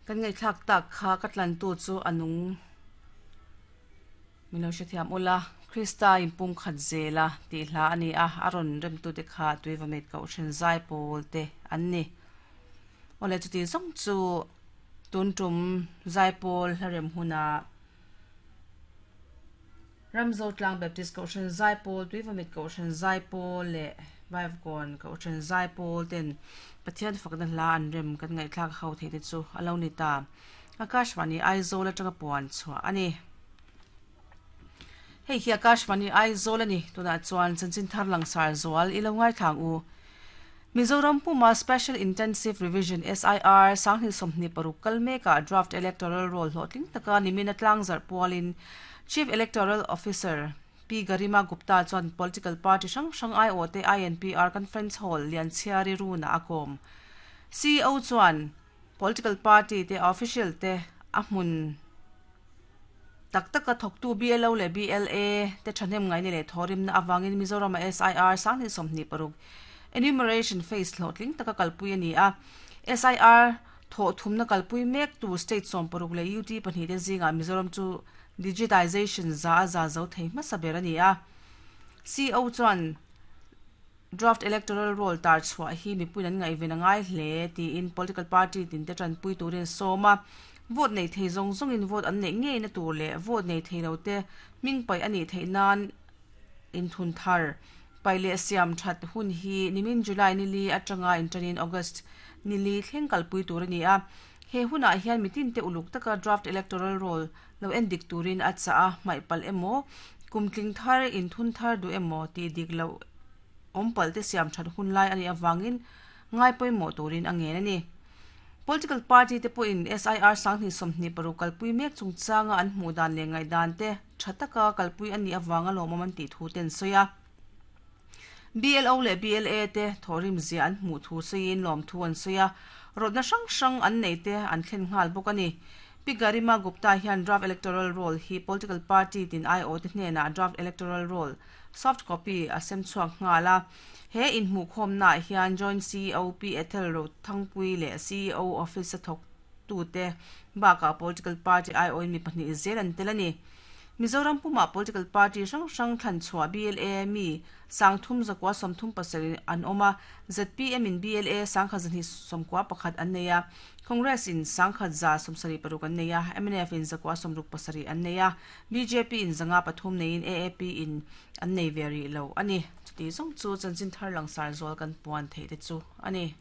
Kan ngaihthlak tak kha ka tlantu chu a nung min lo hrethiam ula, Krista inpumkhat zela tih hla a ni a, a rawn remtute kha Tuivamit Kohhran Zaipawl te an ni. Awle chuti zawng chu tun tum Zaipawl hla rem hunah Ramzotlang Baptist Kohhran Zaipawl, Tuivamit Kohhran Zaipawl leh Vaivakawn Kohhran Zaipawl ten Pathian fakna hla an rem kan ngaihthlak ho theih te chu a lo ni ta. Akashvani Aizawl atanga puan chhuah a ni. Hei hi Akashvani Aizawl a ni. Tunah chuan chanchin thar langsar zual i lo ngaithlang u. Mizoram puma Special Intensive Revision, SIR, 2026 kal mekah Draft Electoral Roll hlawhtling taka nimin a tlangzarh pualin Chief Electoral Officer Pi Garima Gupta chuan political party hrang hrang aiawhte INPR Conference Hall Lianchhiari runah a kawm. CEO chuan political party te official te a hmun Tak taka thawktu BLO leh BLA te thahnem ngaihna leh thawhrimna avangin Mizorama SIR 2026 enumeration phase hlawhtling taka kalpui a ni a. SIR thawh thumna kalpui mektu state 16 leh UT pahnihte zingah Mizoram chu digitization za a za zo thei hmasa ber a ni a. CO chuan Draft Electoral Roll tar chhuah hi mipuiin an ngaihven a ngai hle tiin political party tinte tanpui turin a sawm a. Vote nei thei zawng zawngin vote an neih ngeina tur leh vote nei thei lote hming paih a nih theih nan inthun thar paih leh siam that hun hi nimin July nili atanga inṭanin August nili thleng kalpui tur a ni a. He hunah hian mitinte uluk taka Draft Electoral Roll lo en dik turin a chah a, hmaih palh emaw, kum tling thar, inthun thar duh emaw tih dik loh awm palh te siam that hun lai a nih avangin ngai pawimawh turin a ngen a ni. Political party te pawhin SIR 2026 kalpui mek chungchanga an hmuh dan leh ngaihdan te tha taka kalpui a nih avanga lawmawm an tih thu te an sawi a. BLO leh BLA te thawhrim zia an hmuh thu sawiin lawmthu an sawi a, rawtna hrang hrang an neih te an thlen nghal bawk a ni. Pi Garima Gupta hian Draft Electoral Roll hi political party tin aiawh te hnenah Draft Electoral Roll soft copy a sem chhuak nghal a. He inhmuhkhawmnaah hian Joint CEO Pi Ethel Rothangpui leh CEO Office a thawktute bakah political party aiawhin mi pahnih zel an tel a ni. Mizoram pumah political party hrang hrang thlan chhuah BLA mi 30 137 an awm a, zpm in BLA 1191 an nei a, Congress in 1176 an nei a, mnf in 167 an nei a, bjp in 503 neiin AAP in an nei ve rih lo a ni. Chuti zawng chu chanchin thar langsar zual kan puan theih te chu a ni.